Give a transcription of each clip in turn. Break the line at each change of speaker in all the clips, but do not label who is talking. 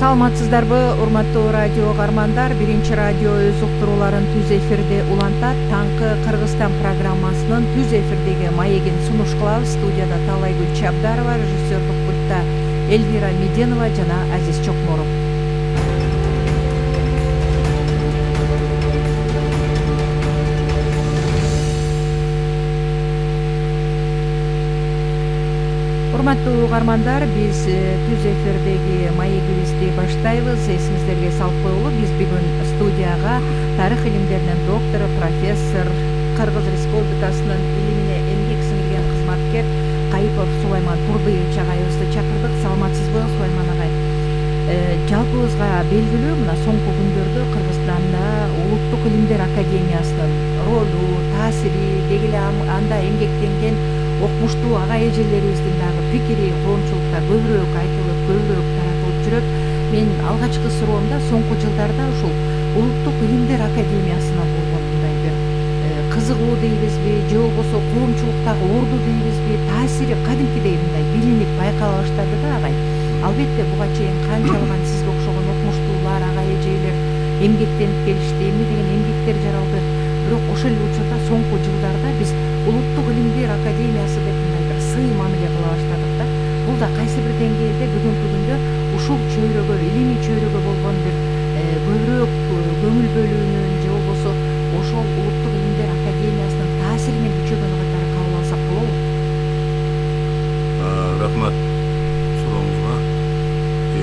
Саламатсыздарбы, урматтуу радио каармандар. Биринчи радио өз уктурууларын түз эфирде улантат. Таңкы Кыргызстан программасынын түз эфирдеги маегин сунуш кылабыз. Студияда Таалайгүл Чабдарова, режиссердук пультта Эльвира Меденова жана Азиз Чокморов. Урматтуу каармандар, биз түз эфирдеги маегибизди баштайбыз. Эсиңиздерге салып коелу, биз бүгүн студияга тарых илимдеринин доктору, профессор, Кыргыз Республикасынын илимине эмгек сиңирген кызматкер Кайыпов Сулайман Турдыевич агайыбызды чакырдык. Саламатсызбы, Сулайман агай? Жалпыбызга белгилүү, мына соңку күндөрдө Кыргызстанда Улуттук илимдер академиясынын ролу, таасири, деги эле анда эмгектенген окумуштуу ага эжелерибиздин дагы пикири коомчулукта көбүрөөк айтылып, көбүрөөк таратылып жүрөт. Мен алгачкы суроомда соңку жылдарда ушул Улуттук илимдер академиясына болгон мындай бир кызыгуу дейбизби, же болбосо коомчулуктагы орду дейбизби, таасири кадимкидей мындай билинип байкала баштады да агай. Албетте буга чейин канчалаган сизге окшогон окумуштуулар, ага эжелер эмгектенип келишти, эмне деген эмгектер жаралды. Бирок ошол эле учурда соңку жылдарда биз Улуттук илимдер академиясы деп мындай бир сый мамиле кыла баштадык да. Бул да кайсы бир деңгээлде бүгүнкү күндө ушул чөйрөгө, илимий чөйрөгө болгон бир көбүрөөк көңүл бөлүүнүн, же болбосо ошол Улуттук илимдер академиясынын таасиринин күчөгөнү катары кабыл алсак болобу?
Рахмат сурооңузга.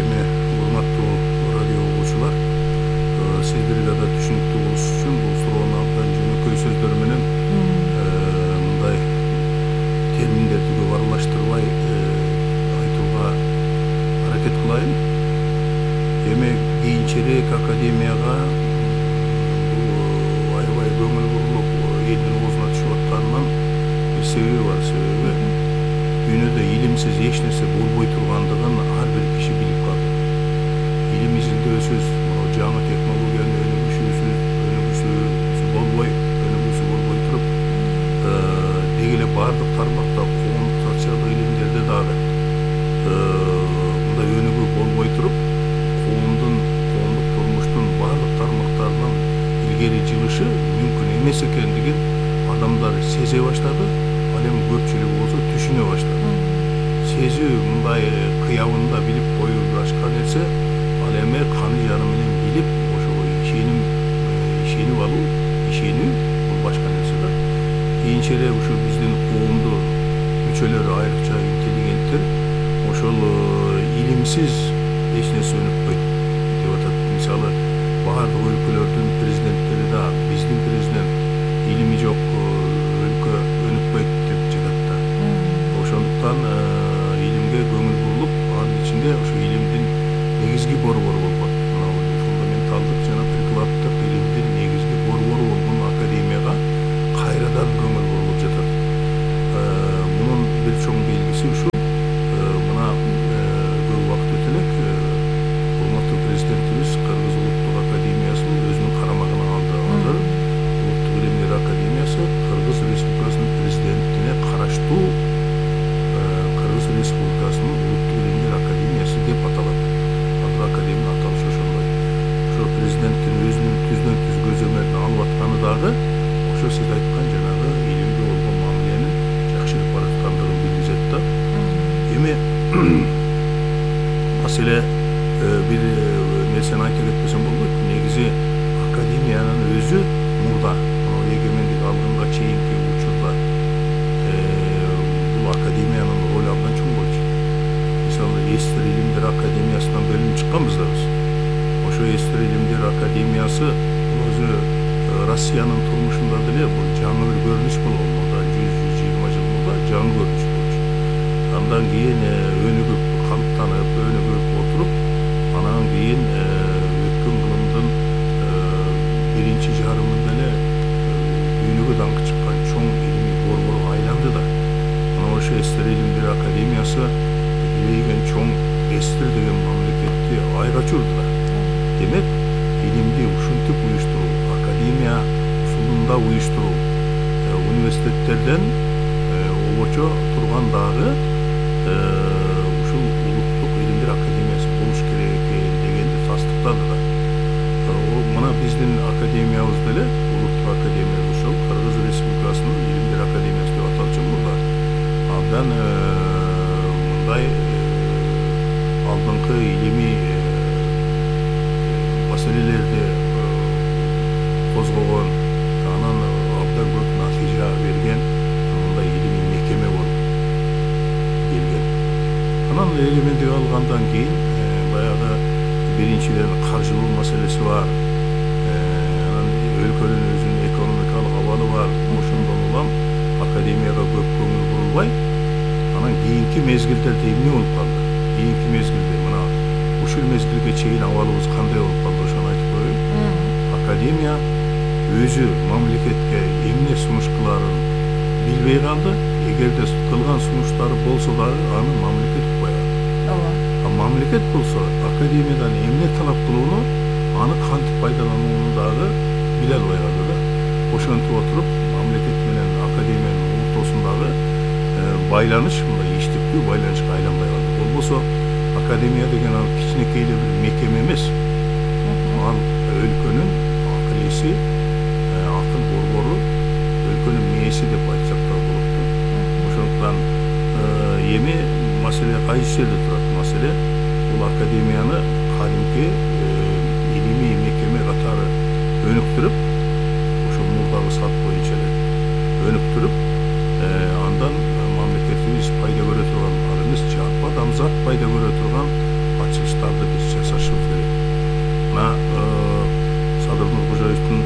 Эми урматтуу радио угуучулар, сиздерге да түшүнүктүү болуш үчүн бул суроону абдан жөнөкөй сөздөр менен мындай терминдерди көп аралаштырбай айтууга аракет кылайын. Эми кийинчерээк академияга бул аябай көңүл бурулуп элдин оозуна түшүп атканынын бир себеби бар. Себеби дүйнөдө илимсиз эч нерсе болбой тургандыгын ар бир киши билип калды. Илим изилдөөсүз, жаңы технологиянын өнүгүүсү болбой туруп, деги эле баардык тармакта, коомдук социалдык илимдерде дагы мындай өнүгүү болбой туруп, коомдук турмуштун баардык тармактарынын илгери жылышы мүмкүн эмес экендигин адамдар сезе баштады, ал эми көпчүлүк болсо түшүнө баштады. Сезүү мындай кыябында билип коюу башка нерсе, ал эми каны жаны менен билип, ошого ишенип алуу, ишенүү бул башка нерсе да. Кийинчерээк ушул биздин коомдун мүчөлөрү, айрыкча интеллигенттер ошол илимсиз эч нерсе өнүкпөйт деп атат. Мисалы, баардык өлкөлөрдүн президенттери да биздин президент илими жок өлкө өнүкпөйт деп жатат да. Ошондуктан илимге көңүл бурулуп, анын ичинде ошо илимдин негизги борбору болот. Мына фундаменталдык жана прикладдык илимдин негизги борбору болгон академияга кайрадан көңүл бурулуп жатат. Мунун бир чоң белгиси ушул. Мына көп убакыт өтө элек урматтуу президентибиз Кыргыз Улуттук академиясын өзүнүн карамагына алды. Азыр Улуттук илимдер академиясы Кыргыз Республикасынын президентине караштуу Кыргыз Республикасынын Улуттук илимдер академиясы деп аталат. Азыр академиянын аталышы ошондой. Ошо президенттин өзүнүн түздөн түз көзөмөлүн алып атканы дагы ошо сиз айткан жанагы илимге болгон мамиленин жакшырып бараткандыгын билдирет да. Эми маселе бир нерсени айта кетпесем болбойт. Негизи академиянын өзү мурда, эгемендик алганга чейинки учурда бул академиянын ролу абдан чоң болчу. Мисалы, Эстер илимдер академиясынан бөлүнүп чыкканбыз да биз. Ошо Эстер илимдер академиясы өзү Россиянын турмушунда деле бул жаңы бир көрүнүш болгон. Мурда 100-120 жыл мурда жаңы көрүнүш болчу. Андан кийин өнүгүп, калыптанып, өнүгүп отуруп, анан кийин өткөн кылымдын биринчи жарымында эле дүйнөгө даңкы чыккан чоң илимий борборго айланды да. Мына ошо Эстер илимдер академиясы билейген чоң Эстер деген мамлекетти айга чурду да. Демек, илимди ушинтип уюштуруу, академия усулунда уюштуруу, университеттерден обочо турган дагы ушул Улуттук илимдер академиясы болуш керек академиябыз деле улуттук академия ошол Кыргыз Республикасынын илимдер академиясы деп аталчу мурда. Абдан мындай алдыңкы илимий маселелерди козгогон, анан абдан көп натыйжа берген мындай илимий мекеме болуп келген. Анан элементиге алгандан кийин баягы биринчиден каржылоо маселеси бар. Анан өлкөнүн өзүнүн экономикалык абалы бар. Ошондон улам академияга көп көңүл бурулбай, анан кийинки мезгилдерде эмне болуп калды? Кийинки мезгилде мына ушул мезгилге чейин абалыбыз кандай болуп калды, ошону айтып коеюн. Академия өзү мамлекетке эмне сунуш кыларын билбей калды. Эгерде кылган сунуштары болсо дагы аны мамлекет укпай калды. Ооба. Мамлекет болсо академиядан эмне талап кылууну, аны кантип пайдаланууну дагы биле албай калды да. Ошентип отуруп мамлекет менен академиянын ортосундагы байланыш мындай иштиктүү байланышка айланбай калды. Болбосо академия деген ал кичинекей эле бир мекеме эмес. Ал өлкөнүн акыл эси, акыл борбору, өлкөнүн мээси деп айтсак да болот да. Ошондуктан эми маселе кайсы жерде турат? Маселе бул академияны кадимки илимий мекеме катары өнүктүрүп, ошо мурдагы сат боюнча эле өнүктүрүп, андан мамлекетибиз пайда көрө турган, ал эмес жалпы адамзат пайда көрө турган ачылыштарды биз жасашыбыз керек. Мына Садыр Нуркожоевдун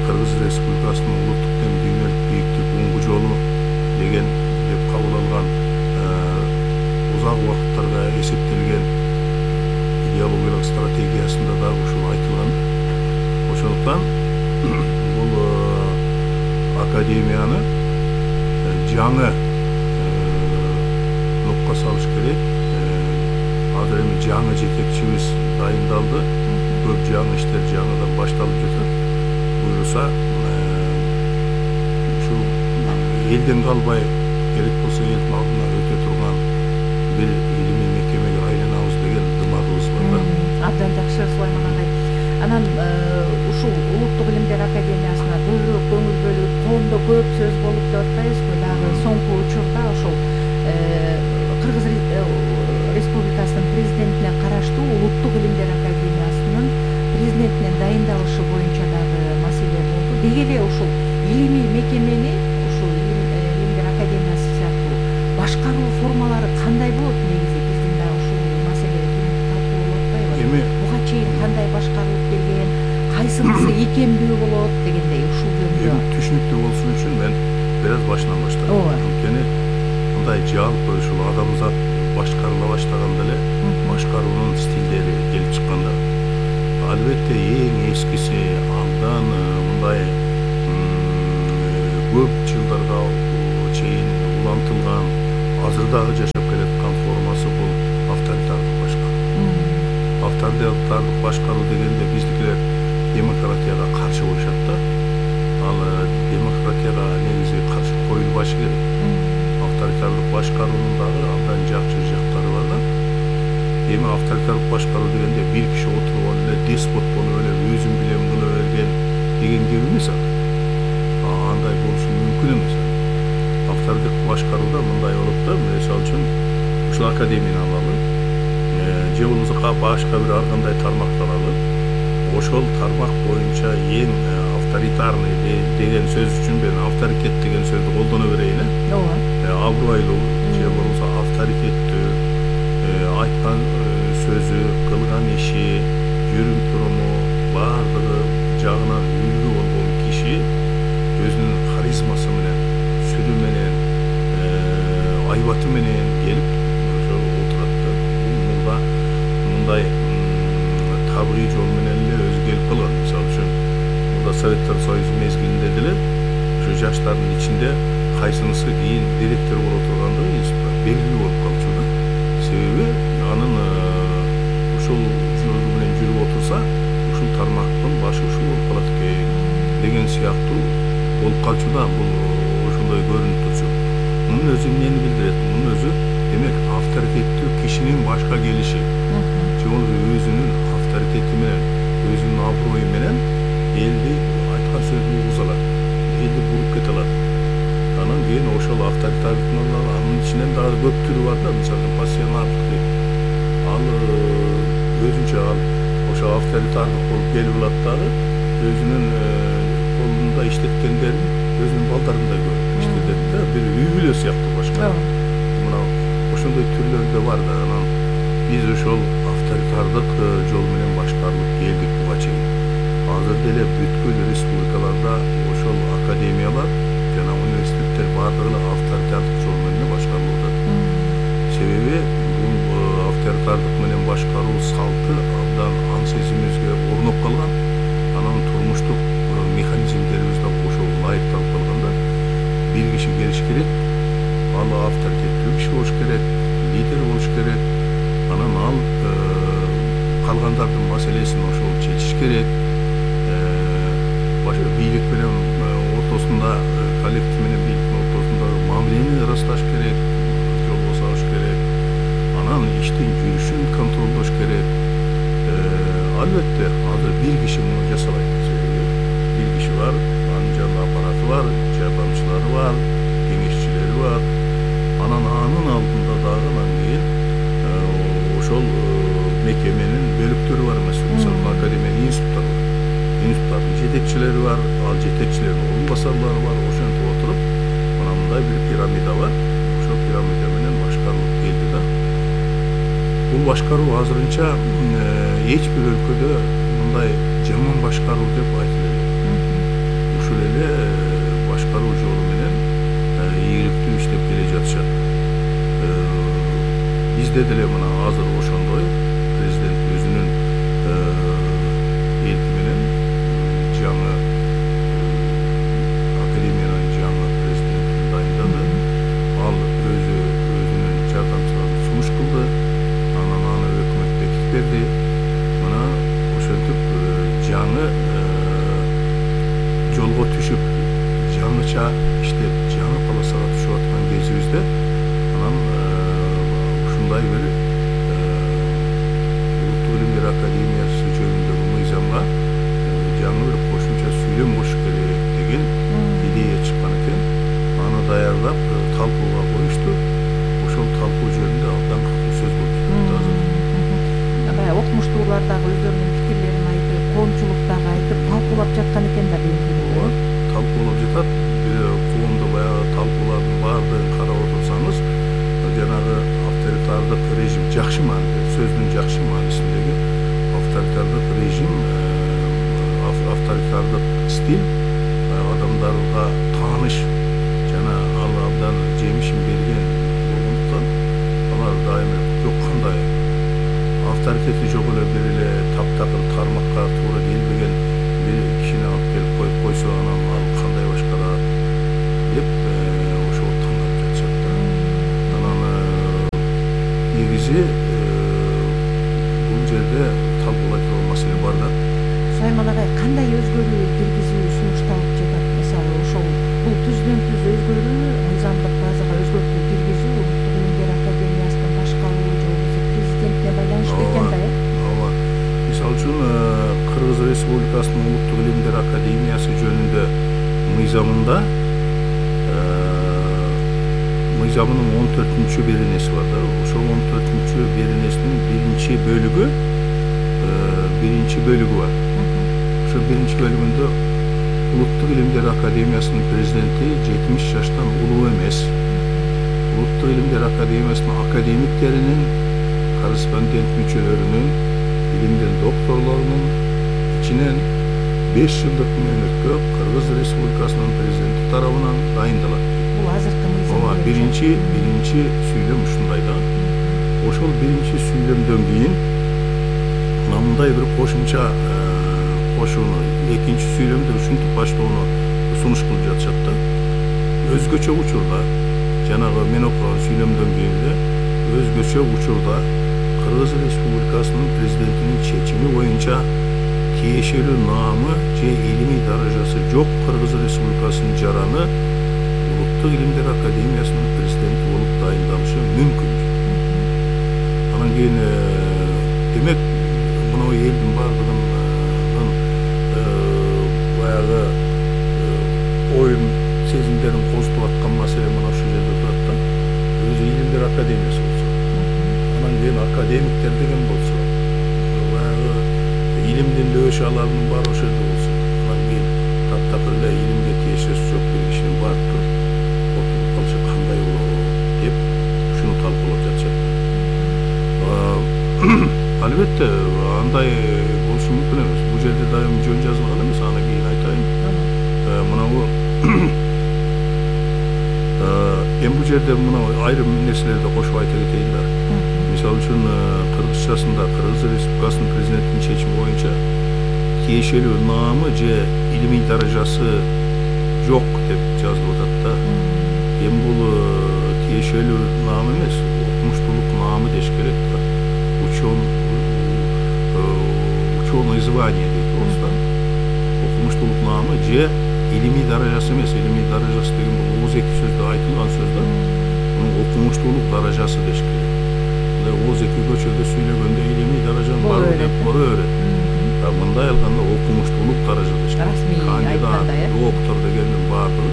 Кыргыз Республикасынын улуттук дем дүйнөлүк бийиктик оңгу жолу деген деп кабыл алган узак убакыттарга эсептелген идеологиялык стратегиясында да ушул айтылган. Ошондуктан бул академияны жаңы нукка салыш керек. Азыр эми жаңы жетекчибиз дайындалды. Көп жаңы иштер жаңыдан башталып жатат. Буюрса ушу элден калбай, керек болсо элдин алдына өтө турган бир илимий мекемеге айланабыз деген дымагыбыз бар да.
Абдан жакшы, Сулайман агай. Анан ушул улуттук илимдер академиясына көбүрөөк көңүл бөлүп, коомдо көп сөз болуп деп атпайбызбы? Дагы соңку учурда ошол Кыргыз Республикасынын президентине караштуу улуттук илимдер академиясынын президентинин дайындалышы боюнча дагы маселе болду. Деги эле ушул илимий мекемени, ушул илимдер академиясы сыяктуу башкаруу формалары кандай болот негизи? Биздин да ушул маселе талкуу болуп атпайбы?
Эми
буга чейин кандай башкарылып келген, кайсынысы ийкемдүү болот дегендей ушул жөнүндө
түшүнүктүү болсун үчүн мен бир аз башынан баштайм. Анткени мындай жалпы ушул адамзат башкарыла баштаганда эле башкаруунун стилдери келип чыкканда, албетте эң эскиси абдан мындай көп жылдарга чейин улантылган, азыр дагы жашап келаткан формасы бул авторитардык башкаруу. Авторитардык башкаруу дегенде биздикилер демократияга каршы коюшат да. Ал демократияга негизи каршы коюлбашы керек. Авторитардык башкаруунун дагы абдан жакшы жактары бар да. Эми авторитардык башкаруу дегенде бир киши отуруп эле деспот болуп эле өзүн билем кыла берген деген кеби эмес ал. Андай болушу мүмкүн эмес. Авторитардык башкарууда мындай болот да, мисалы үчүн ушул академияны алалы, же болбосо башка бир ар кандай тармакты алалы. Ошол тармак боюнча эң авторитарный деген сөз үчүн мен авторитет деген сөздү колдоно берейин. Ооба. Абройлуу же болбосо авторитеттүү, айткан сөзү, кылган иши, жүрүм туруму баардыгы жагынан үлгү болгон киши өзүнүн харизмасы менен, сүрү менен, айбаты менен келип ошо отурат да. Бул мурда мындай табигый жол менен эле өзү келип калган. Мисалы үчүн мурда Советтер Союзу мезгилинде деле ошо жаштардын ичинде кайсынысы кийин директор боло тургандыгы институтта белгилүү болуп калчу да. Себеби анын ушул жолу менен жүрүп отурса, ушул тармактын башы ушул болуп калат экен деген сыяктуу болуп калчу да. Бул ошондой көрүнүп турчу. Мунун өзү эмнени билдирет? Мунун өзү демек авторитеттүү кишинин башка келиши. Же болбосо өзүнүн авторитети менен, өзүнүн аброю менен элди айткан сөздү угуз алат, элди буруп кете алат. Анан кийин ошол авторитарлыктын анын ичинен дагы көп түрү бар да, мисалы пассионардык дейт. Ал өзүнчө ал ошо авторитардык болуп келип алат дагы өзүнүн колунда иштеткендерин өзүнүн балдарындай көрүп иштетет да, бир үй бүлө сыяктуу башкаруу. Мына ошондой түрлөрү да бар да. Анан биз ошол авторитардык жол менен башкарылып келдик буга чейин. Азыр деле бүткүл республикаларда ошол академиялар жана университеттер баардыгы эле авторитардык жол менен башкарылып атат. Себеби бул авторитардык менен башкаруу салты абдан аң сезимибизге орноп калган. Анан турмуштук механизмдерибиз да ошого ылайыкталып калганда бир киши келиш керек, ал авторитеттүү киши болуш керек, лидер болуш керек. Анан ал калгандардын маселесин ошол чечиш керек. Бийлик менен ортосунда, коллектив менен бийликтин ортосундагы мамилени ырасташ керек, жолго салыш керек. Анан иштин жүрүшүн контролдош керек. Албетте азыр бир киши муну жасабайт. Бир киши бар, анын жанында аппараты бар, жардамчылары бар, кеңешчилери бар. Анан анын алдында дагы анан кийин ошол мекеменин бөлүктөрү бар эмес. Мисалы академия институттар бар. Институттардын жетекчилери бар, ал жетекчилердин орун басарлары бар. Ошентип отуруп мына мындай бир пирамида бар. Ошол пирамида менен башкарылып келди да. Бул башкаруу азырынча эч бир өлкөдө мындай жаман башкаруу деп айтылбайт. Ушул эле башкаруу жолу менен ийгиликтүү иштеп келе жатышат. Бизде деле мына азыр ошондой президент өзүнүн элти менен жаңы академиянын жаңы президентин дайындады. Ал өзүнүн жардамчыларын сунуш кылды. Анан аны өкмөт бекитип берди. Мына ошентип жаңы жолго түшүп, жаңыча иштеп, жаңы полосага түшүп аткан кезибизде анан ушундай бир Улуттук илимдер академиясы жөнүндөгү мыйзамга жаңы бир кошумча сүйлөм коюш керек деген идея чыккан экен. Аны даярдап талкууга коюшту. Ошол талкуу жөнүндө абдан катуу сөз болуп жатат азыр.
Баягы окумуштуулар дагы өздөрүнүн пикирлерин айтып, коомчулук дагы айтып, талкуулап жаткан экен да бүгүнкү күндө.
Талкуулап жатат. Коомдо баягы талкуулардын баардыгын карап отурсаңыз, жанагы авторитардык режим жакшы мааниде, сөздүн жакшы маанисиндеги авторитардык режим, авторитардык стиль адамдарга тааныш жана ал абдан жемишин берген болгондуктан алар дайыма жок кандай авторитети жок эле бир эле таптакыр тармакка туура келбеген бир кишини алып келип коюп койсо анан ал кандай башкарат деп ошого тандап жатышат да. Анан негизи бул жерде талкуулай турган маселе бар да.
Сайман агай, кандай өзгөрүү киргизүү сунушталып жатат? Мисалы ошол бул түздөн түз өзгөрүү, мыйзамдык базага өзгөртүү киргизүү Улуттук илимдер академиясынын башкаруу же болбосо президентине байланыштуу экен да,
ооба. Мисалы үчүн Кыргыз Республикасынын Улуттук илимдер академиясы жөнүндө мыйзамында мыйзамынын 14-чү беренеси бар да. Ошол 14-чү беренесинин биринчи бөлүгү бар. Ошо биринчи бөлүгүндө Улуттук илимдер академиясынын президенти 70 жаштан улуу эмес. Улуттук илимдер академиясынын академиктеринин, корреспондент мүчөлөрүнүн, илимден докторлорунун ичинен 5 жылдык мөөнөткө Кыргыз Республикасынын президенти тарабынан дайындалат.
Бул азыркы мыйзам.
Ооба, биринчи сүйлөм ушундай да. Ошол биринчи сүйлөмдөн кийин мындай бир кошумча кошууну экинчи сүйлөмдө ушинтип баштоону сунуш кылып жатышат да. Өзгөчө учурда жанагы мен окуган сүйлөмдөн кийин эле өзгөчө учурда Кыргыз Республикасынын президентинин чечими боюнча тиешелүү наамы же илимий даражасы жок Кыргыз Республикасынын жараны Улуттук илимдер академиясынын президенти болуп дайындалышы мүмкүн. Анан кийин демек мына элдин баардыгынын баягы оюн сезимдерин козутуп аткан маселе мына ушул жерде турат да. Өзү илимдер академиясы болсо, анан кийин академиктер деген болсо, баягы илимдин дөбөш алабынын баары ошол жерде болсо, анан кийин таптакыр эле илимге тиешеси жок бир кишинин барып туруп отуруп калышы кандай болот деп ушуну талкуулап жатышат. Албетте андай болушу мүмкүн эмес. Бул жерде дайым жөн жазылган эмес. Аны кийин айтайын. Мынабу эми бул жерде мына айрым нерселерди кошуп айта кетейин да. Мисалы үчүн кыргызчасында Кыргыз Республикасынын президентинин чечими боюнча тиешелүү наамы же илимий даражасы жок деп жазылып атат да. Эми бул тиешелүү наам эмес, окумуштуулук наамы деш керек да. Ученое звание дейт орустан. Окумуштуулук наамы же илимий даражасы эмес, илимий даражасы деген бул ооз эки сөздө айтылган сөз да. Мунун окумуштуулук даражасы деш керек. Мындай ооз эки көчөдө сүйлөгөндө илимий даражам барбы деп боло берет. Мындай алганда окумуштуулук даража деш керек. Кандидат, доктор дегендин баардыгы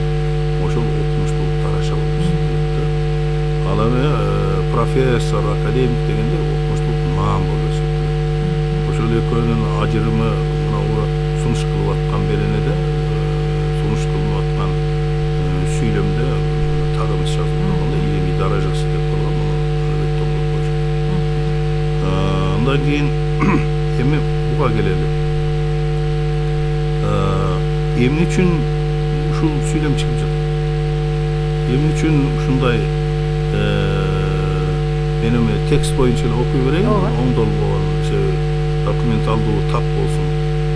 ошол окумуштуулук даража болуп эсептелет да. Ал эми профессор, академик дегенде окумуштуулук наам болуп эсептелет. Ошол экөөнүн ажырымы мына сунуш кылып аткан беренеде, сунуш кылынып аткан сүйлөмдө так эмес жазылып турганда илимий даражасы деп койгон, албетте оңдоп коюш керек. Андан кийин эми буга келели. Эмне үчүн ушул сүйлөм чыгып жатат? Эмне үчүн ушундай мен эми текст боюнча эле окуй берейин, оңдолбогон себеби документалдуу так болсун.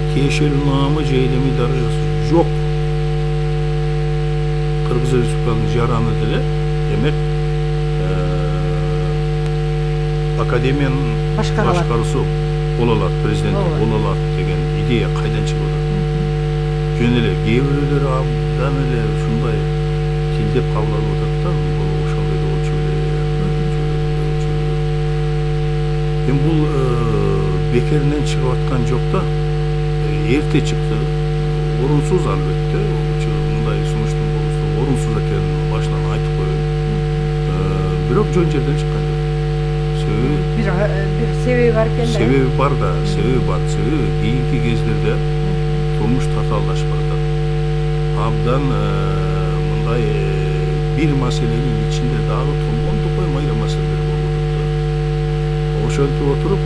Тиешелүү наамы же илимий даражасы жок. Кыргыз Республикасынын жараны деле демек академиянын башкаруусу боло алат, президенти боло алат деген идея кайдан чыгып атат? Жөн эле кээ бирөөлөр абдан эле ушундай тилдеп кабыл алып атат да, бул ошондой деп болчу эле. Эми бул бекеринен чыгып аткан жок да. Эрте чыкты. Орунсуз албетте. Мындай сунуштун болуусу орунсуз экенин башынан айтып коеюн. Бирок жөн жерден чыккан жок. Себеби
бир себеби бар экен да.
Себеби бар да, себеби бар. Себеби кийинки кездерде турмуш татаалдашып баратат. Абдан мындай бир маселенин ичинде дагы толгондой майра маселелер болуп атат. Ошентип отуруп,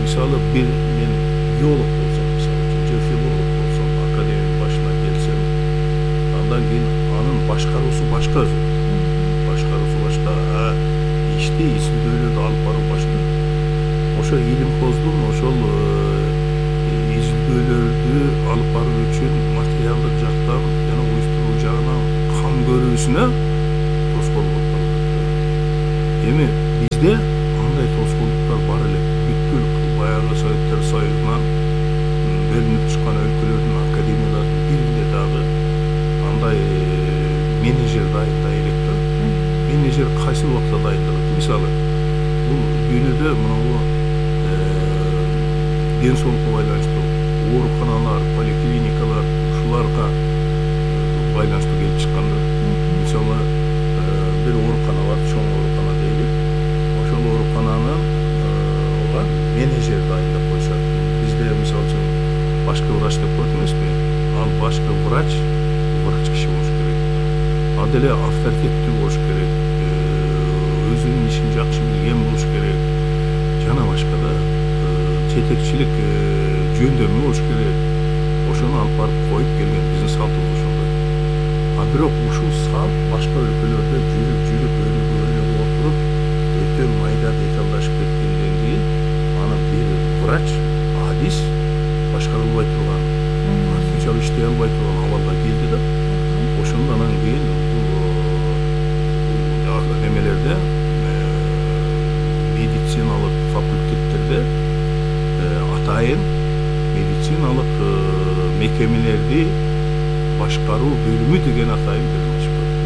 мисалы бир мен биолог болсом, мисалы же филолог болсом, академиянын башына келсем, андан кийин анын башкаруусу башка өзү. Башкаруусу башка, ишти изилдөөлөрдү алып баруу башка. Ошо илимпоздун ошол изилдөөлөрдү алып баруу үчүн материалдык жактан жана уюштуруу жагынан кам көрүүсүнө тоскоолдук болуп калат. Эми бизде андай тоскоолдуктар бар эле. Бүткүл баягы Советтер Союзунан бөлүнүп чыккан өлкөлөрдүн академияларынын биринде дагы андай менеджер дайындай элек да. Менеджер кайсы убакта дайындалат? Мисалы, бул дүйнөдө мына ден соолукка байланыштуу ооруканалар, поликлиникалар ушуларга байланыштуу келип чыкканда, мисалы, бир оорукана бар, чоң оорукана дейли. Ошол оорукананын менеджер дайындап коюшат. Бизде мисалы үчүн башкы врач деп коет эмеспи? Ал башкы врач киши болуш керек. Ал деле авторитеттүү болуш керек. Өзүнүн ишин жакшы билген болуш керек. Жана башка да жетекчилик жөндөмү болуш керек. Ошону алып барып коюп келген биздин салтыбыз ошондой. Бирок ушул салт башка өлкөлөрдө жүрүп өнүгүп отуруп, өтө майда деталдашып кеткенден кийин аны бир врач, адис башкара албай турган, натыйжалуу иштей албай турган абалга келди да. Ошондон кийин бул немелерде медициналык факультеттерде атайын медициналык мекемелерди башкаруу бөлүмү деген атайын бөлүм ачып койду.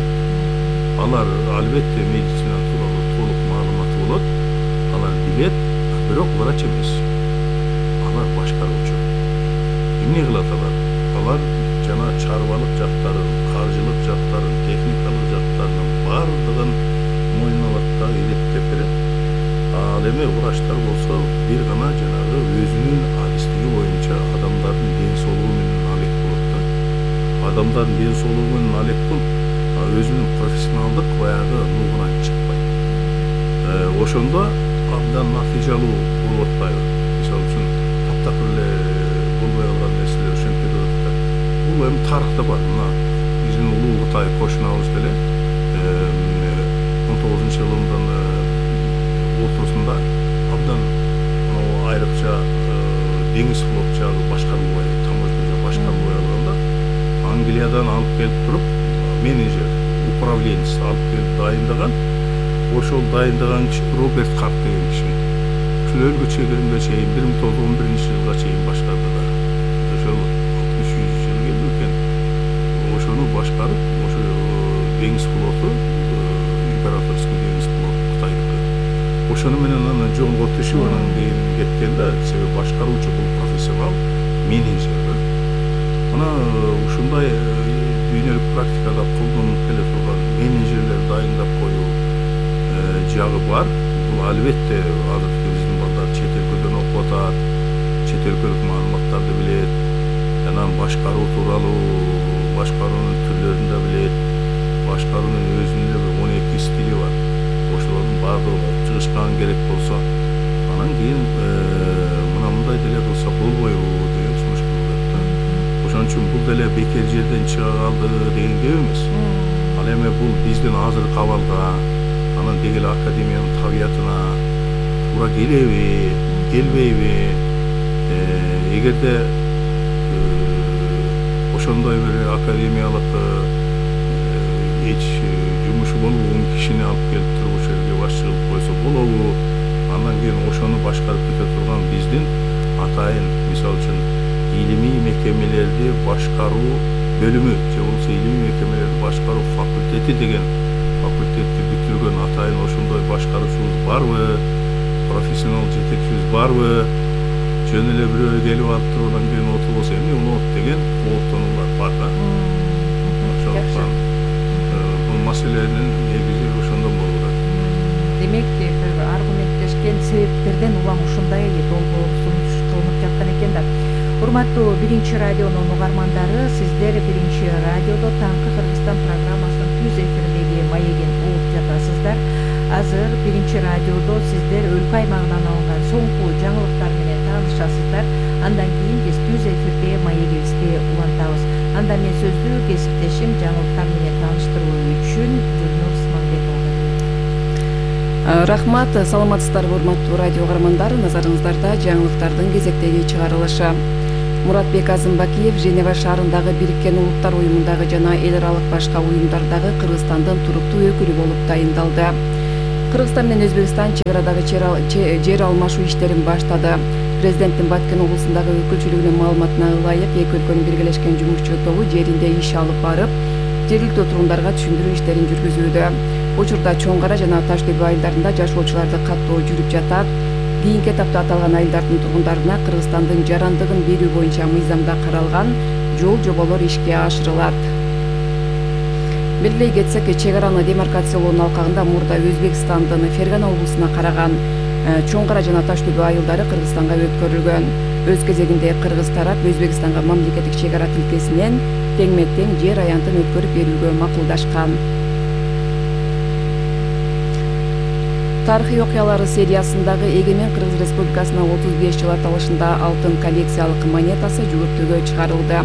Алар албетте медицина тууралуу толук маалыматы болот, алар билет, бирок врач эмес. Алар башкаруучу. Эмне кылат алар? Алар жана чарбалык жактарын, каржылык жактарын, техникалык жактарынын баардыгын мойнуна алат да илеттеп берет. Ал эми врачтар болсо бир гана жанагы өзүнүн адистиги боюнча адамдардын ден соолугу менен алек болот да. Адамдардын ден соолугу менен алек болуп, өзүнүн профессионалдык баягы нугунан чыкпайт. Ошондо абдан натыйжалуу болуп атпайбы? Мисалы үчүн таптакыр эле болбой калган нерселер ошентип кетип атат да. Бул эми тарыхта бар. Мына биздин улуу Кытай кошунабыз деле 19-жылдын ортосунда абдан айрыкча деңиз флот жагы башкарылбай, таможня башкарылбай калганда Англиядан алып келип туруп менеджер, управленец алып келип дайындаган. Ошол дайындаган киши Роберт Харт деген киши. Ушул өлкө чегиримге чейин 1911-жылга чейин башкарды да. Ошол 60 жыл келди экен. Ошону башкарып, ошо деңиз флоту, императорский деңиз флоту Кытайдыкы. Ошону менен аны жолго түшүп анан кийин кеткен да, себеби башкаруучу бул профессионал менеджер. Мына ушундай дүйнөлүк практикада колдонулуп келе турган менеджерлер дайындап коюу жагы бар. Бул албетте азыркы биздин балдар чет өлкөдөн окуп атат, чет өлкөлүк маалыматтарды билет, жана башкаруу тууралуу, башкаруунун түрлөрүн да билет, башкаруунун өзүнүн эле 12 стили бар. Ошолордун баардыгын окуп чыгышкан керек болсо, анан кийин мына мындай деле кылса болбойбу деген сунуш кылат да. Ошон үчүн бул деле бекер жерден чыга калды деген кеп эмес. Ал эми бул биздин азыркы абалга, анан дегеле академиянын табиятына туура келеби, келбейби? Эгерде ошондой бир академиялык эч жумушу болгон кишини алып келип туруп ошол жерге башчы кылып койсо болобу? Андан кийин ошону башкарып кете турган биздин атайын, мисалы үчүн илимий мекемелерди башкаруу бөлүмү же болбосо илимий мекемелерди башкаруу факультети деген факультетти бүтүргөн атайын ошондой башкаруучубуз барбы? Профессионал жетекчибиз барбы? Жөн эле бирөө келип алып туруп анан кийин отурбосо эмне болот деген кооптонуулар бар да. Ошондуктан бул маселенин негизи ошондон болуп атат.
Демек, бир аргументтешкен себептерден улам ушундай долбоо сунуш кылынып жаткан экен да. Урматтуу Биринчи радионун угармандары, сиздер Биринчи радиодо Таңкы Кыргызстан программасынын түз эфирдеги маегин угуп жатасыздар. Азыр Биринчи радиодо сиздер өлкө аймагынан алынган соңку жаңылыктар менен таанышасыздар. Андан кийин биз түз эфирде маегибизди улантабыз. Анда мен сөздү кесиптешим жаңылыктар менен тааныштыруу үчүн Гүлнур Смамбетова.
Рахмат, саламатсыздарбы урматтуу радио угармандар. Назарыңыздарда жаңылыктардын кезектеги чыгарылышы. Муратбек Азымбакиев Женева шаарындагы Бириккен Улуттар уюмундагы жана эл аралык башка уюмдардагы Кыргызстандын туруктуу өкүлү болуп тайындалды. Кыргызстан менен Өзбекстан чек арадагы жер алмашуу иштерин баштады. Президенттин Баткен облусундагы өкүлчүлүгүнүн маалыматына ылайык, эки өлкөнүн биргелешкен жумушчу тобу жеринде иш алып барып, жергиликтүү тургундарга түшүндүрүү иштерин жүргүзүүдө. Учурда Чоң Кара жана Таш Төбө айылдарында жашоочуларды каттоо жүрүп жатат. Кийинки этапта аталган айылдардын тургундарына Кыргызстандын жарандыгын берүү боюнча мыйзамда каралган жол жоболор ишке ашырылат. Белгилей кетсек, чек араны демаркациялоонун алкагында мурда Өзбекстандын Фергана облусуна караган Чоң Кара жана Таш Төбө айылдары Кыргызстанга өткөрүлгөн. Өз кезегинде Кыргыз тарап Өзбекстанга мамлекеттик чек ара тилкесинен теңме-тең жер аянтын өткөрүп берүүгө макулдашкан. Тарыхый окуялары сериясындагы Эгемен Кыргыз Республикасына 35 жыл аталышында алтын коллекциялык монетасы жүгүртүүгө чыгарылды.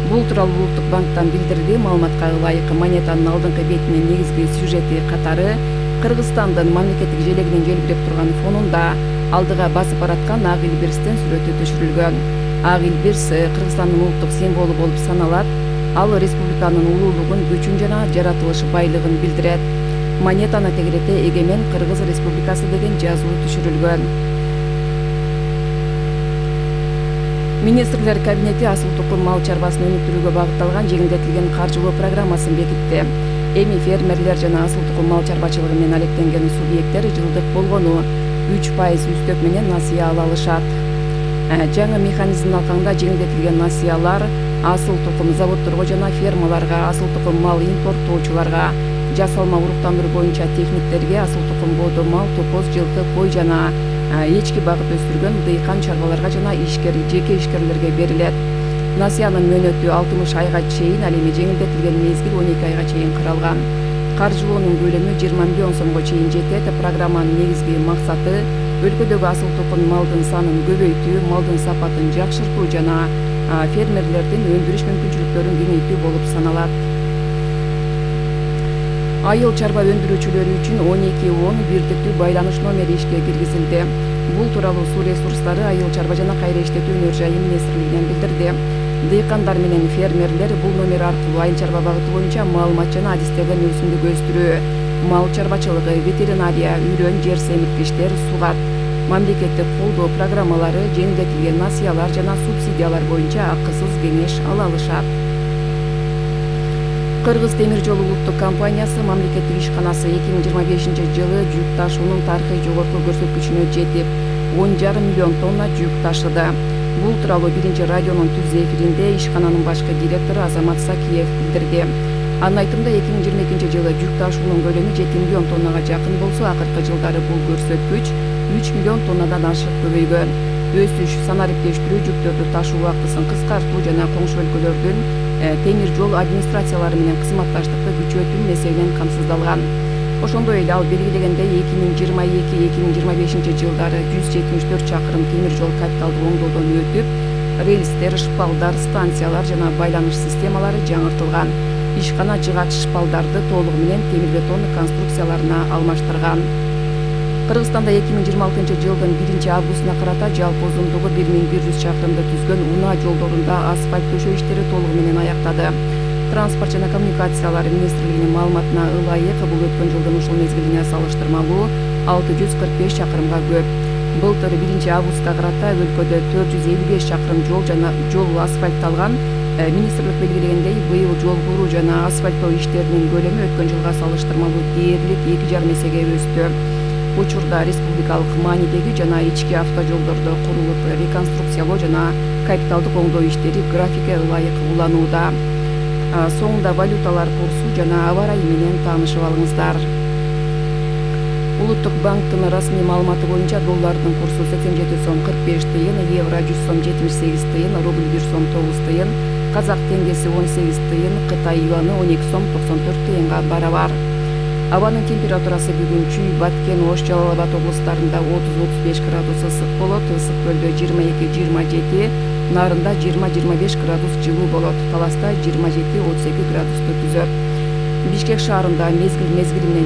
Бул тууралуу Улуттук банктан билдирди. Маалыматка ылайык, монетанын алдыңкы бетинин негизги сюжети катары Кыргызстандын мамлекеттик желегинин желбиреп турган фонунда алдыга басып бараткан ак илбирстин сүрөтү түшүрүлгөн. Ак илбирс Кыргызстандын улуттук символу болуп саналат. Ал республиканын улуулугун, күчүн жана жаратылыш байлыгын билдирет. Монетаны тегерете Эгемен Кыргыз Республикасы деген жазуу түшүрүлгөн. Министрлер кабинети асыл тукум мал чарбасын өнүктүрүүгө багытталган жеңилдетилген каржылоо программасын бекитти. Эми фермерлер жана асыл тукум мал чарбачылыгы менен алектенген субъекттер жылдык болгону 3% үстөк менен насыя ала алышат. Жаңы механизмдин алкагында жеңилдетилген насыялар асыл тукум заводдорго жана фермаларга, асыл тукум мал импорттоочуларга, жасалма уруктандыруу боюнча техниктерге, асыл тукум боодо мал, топоз, жылкы, кой жана эчки багып өстүргөн дыйкан чарбаларга жана жеке ишкерлерге берилет. Насыянын мөөнөтү 60 айга чейин, ал эми жеңилдетилген мезгил 12 айга чейин каралган. Каржылоонун көлөмү 20 миллион сомго чейин жетет. Программанын негизги максаты өлкөдөгү асыл тукум малдын санын көбөйтүү, малдын сапатын жакшыртуу жана фермерлердин өндүрүш мүмкүнчүлүктөрүн кеңейтүү болуп саналат. Айыл чарба өндүрүүчүлөрү үчүн 1210 бирдиктүү байланыш номери ишке киргизилди. Бул тууралуу Суу ресурстары, айыл чарба жана кайра иштетүү өнөр жайы министрлигинен билдирди. Дыйкандар менен фермерлер бул номер аркылуу айыл чарба багыты боюнча маалымат жана адистерден өсүмдүк өстүрүү, мал чарбачылыгы, ветеринария, үрөн, жер семирткичтер, сугат, мамлекеттик колдоо программалары, жеңилдетилген насыялар жана субсидиялар боюнча акысыз кеңеш ала алышат. Кыргыз темир жолу улуттук компаниясы мамлекеттик ишканасы 2025 жылы жүк ташуунун тарыхый жогорку көрсөткүчүнө жетип, 10,5 миллион тонна жүк ташыды. Бул тууралуу биринчи радионун түз эфиринде ишкананын башкы директору Азамат Сакиев билдирди. Анын айтымында 2022 жылы жүк ташуунун көлөмү 7 миллион тоннага жакын болсо, акыркы жылдары бул көрсөткүч 3 миллион тоннадан ашык көбөйгөн. Өсүш санариптештирүү, жүктөрдү ташуу убактысын кыскартуу жана коңшу өлкөлөрдүн темир жол администрациялары менен кызматташтыкты күчөтүү маселенен камсыздалган. Ошондой эле ал белгилегендей 2022-2025 жылдары 174 чакырым темир жол капиталдык оңдоодон өтүп, рельстер, шпалдар, станциялар жана байланыш системалары жаңыртылган. Ишкана жыгач шпалдарды толугу менен темир бетон конструкцияларына алмаштырган. Кыргызстанда 2026 жылдын 1-августуна карата жалпы узундугу 1100 чакырымды түзгөн унаа жолдорунда асфальт төшөө иштери толугу менен аяктады. Транспорт жана коммуникациялар министрлигинин маалыматына ылайык, бул өткөн жылдын ушул мезгилине салыштырмалуу 645 чакырымга көп. Былтыр 1-августка карата өлкөдө 455 чакырым жол асфальтталган. Министрлик белгилегендей, быйыл жол куруу жана асфальттоо иштеринин көлөмү өткөн жылга салыштырмалуу дээрлик 2,5 эсеге өстү. Учурда республикалык маанидеги жана ички автожолдордо курулуп, реконструкциялоо жана капиталдык оңдоо иштери графикке ылайык уланууда. Соңунда валюталар курсу жана аба ырайы менен таанышып алыңыздар. Улуттук банктын расмий маалыматы боюнча доллардын курсу 87 сом 45 тыйын, евро 100 сом 78 тыйын, рубль 1 сом 9 тыйын, казак теңгеси 18 тыйын, Кытай юаны 12 сом 94 тыйынга барабар. Абанын температурасы бүгүн Чүй, Баткен, Ош, Жалал Абад облустарында 30-35 градус ысык болот, Ысык көлдө 22-27, Нарында 20-25 градус жылуу болот, Таласта 27-32 градусту түзөт. Бишкек шаарында мезгил менен